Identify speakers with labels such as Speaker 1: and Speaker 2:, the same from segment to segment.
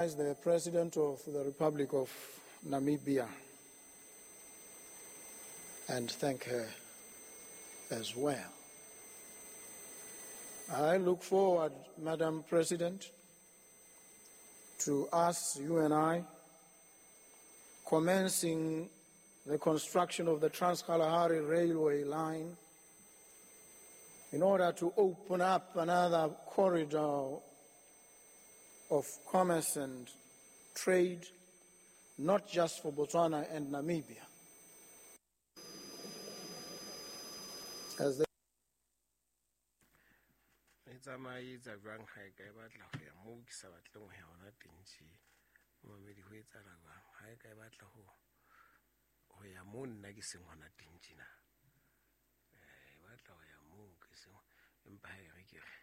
Speaker 1: The President of the Republic of Namibia and thank her as well. I look forward, Madam President, to us, you and I, commencing the construction of the Trans-Kalahari Railway line in order to open up another corridor of commerce and trade, not just for Botswana and Namibia. As they
Speaker 2: e tsamaye etsa jwang ha e ka e batla ho ya moo ke sa batleng ho ya hona teng tje momamedi ho etsahala jwang ha e ka e batla ho ho ya moo nna ke seng hona teng tjena e batla ho ya moo ke seng empa ha e re ke re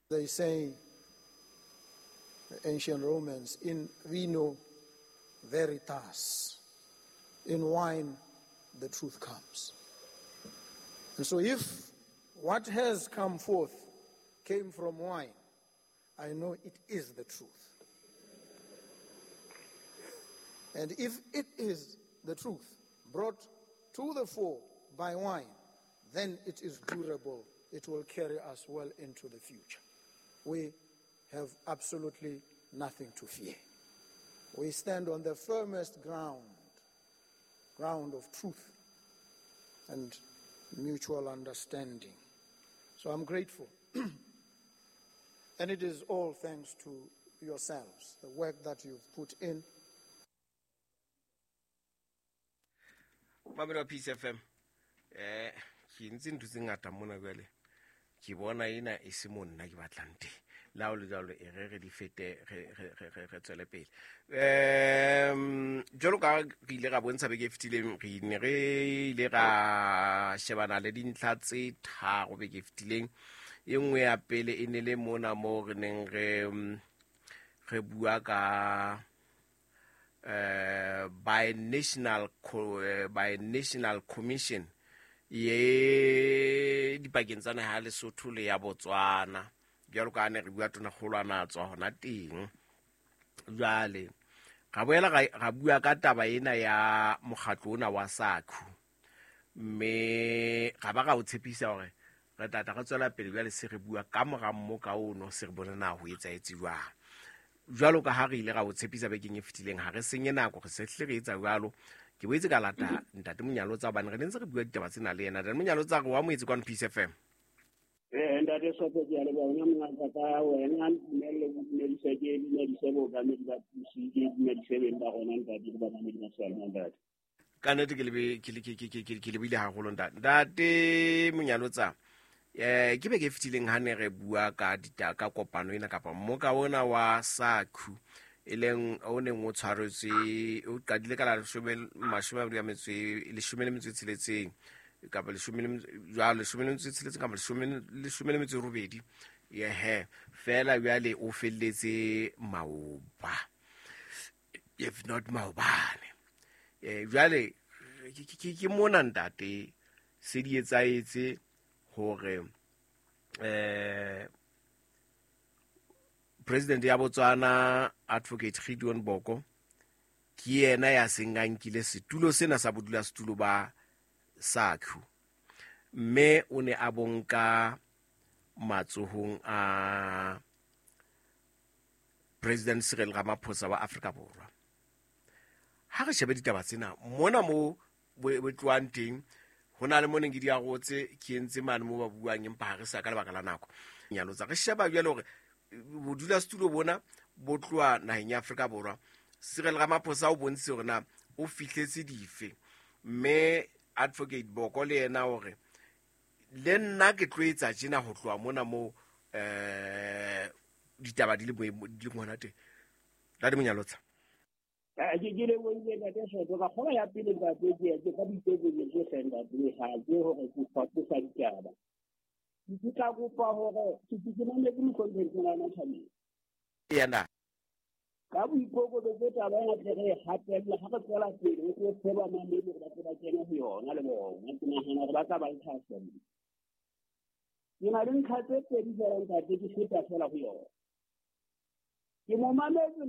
Speaker 1: They say, the ancient Romans, in vino veritas, in wine the truth comes. And so if what has come forth came from wine, I know it is the truth. And if it is the truth brought to the fore by wine, then it is durable. It will carry us well into the future. We have absolutely nothing to fear. We stand on the firmest ground, ground of truth and mutual understanding. So I'm grateful. And it is all thanks to yourselves, the work that you've put in.
Speaker 2: Mamelo wa Peace FM ke ntse ntho tse ngata mona jwale ke bona ena e se mo nna ke batlang teng le ha o le jwalo e re re di fete re tswele pele. Jwalo ka re ile ra bontsha beke e fetileng, re ne re ile ra shebana le dintlha tse tharo beke e fetileng. E nngwe ya pele e ne le mona moo re neng re bua ka by national commission ye dipakeng tsa naha ya Lesotho le ya Botswana, jwalo ka ne re bua tonakgolo a na tswa hona teng. Jwale ra boela ra bua ka taba ena ya mokgatlo ona wa SACU, mme ra ba ra o tshepisa hore re tla tla re tswela pele. Jwale se re bua ka mora mmoka ono, se re bone na ho etsahetse jwang. Jwalo ka ha re ile ra o tshepisa bekeng e fetileng, ha re senye nako, re se hle re etsa jwalo. Ke boetse ka lata ntate Monyalotsa hobane re ne ntse re bua ditaba tsena le yena. Ntate Monyalotsa, re wa moetse kwano Peace FM.
Speaker 3: Ntate Sopo, ke a leboha wena mongaka ka wena. Ntumelle ke dumedise, ke dumedise bookamedi ba pusi, ke dumedise beng ba rona ntate le bamamedi ba seyalemoya ntate.
Speaker 2: Ka nnete ke lebe ke ke lebile haholo ntate Monyalotsa. Ke beke e fetileng ha ne re bua ka dita ka kopano ena kapa mmoka ona wa SACU, e leng o neng o tshwaretswe, o qadile ka la 26 kapa leshome le jwalo, 16 kapa 18, yehe fela. Jwale o felletse maoba, if not maobane. Jwale ke mona ntate se di etsahetse hore president ya Botswana, Advocate Gideon Boko, ke yena ya seng a nkile setulo sena sa bodulasetulo ba SACU, mme o ne a bonka matsohong a President Cyril Ramaphosa wa Afrika Borwa. Ha re shebe ditaba tsena mona mo bo tlohang teng, ho na le mo neng ke di arotse, ke entse mane mo ba buang, empa ha re sa ka lebaka la nako nyalotsa. Re sheba jwale hore bodulasetulo bona bo tloha naheng ya Afrika Borwa, Cyril Ramaphosa o bontshitse hore na o fihletse dife, mme Advocate Boko le yena hore le nna ke tlo etsa tjena ho tloha mona mo ditaba di le boemo di le ngwana teng. Ntate Monyalotsa.
Speaker 3: Ke lebohile ntate Soto. Ka kgola ya pele ntate, ke ka boikokobetso hle ntate, ha ke hore ke faposa ditaba. Ke tla kopa hore ke mametse mohlomphehi Morena Thabeng.
Speaker 2: Yena.
Speaker 3: Ka boikokobetso taba ena tle re e hatella ha re tswela pele, re tlo tseba mamedi hore ba tle ba kene ho yona le bona. Ke nahana hore ba tla ba le thahasello. Ke na le ntlha tse pedi fela ntate, ke feta fela ho yona. Ke mo mametse.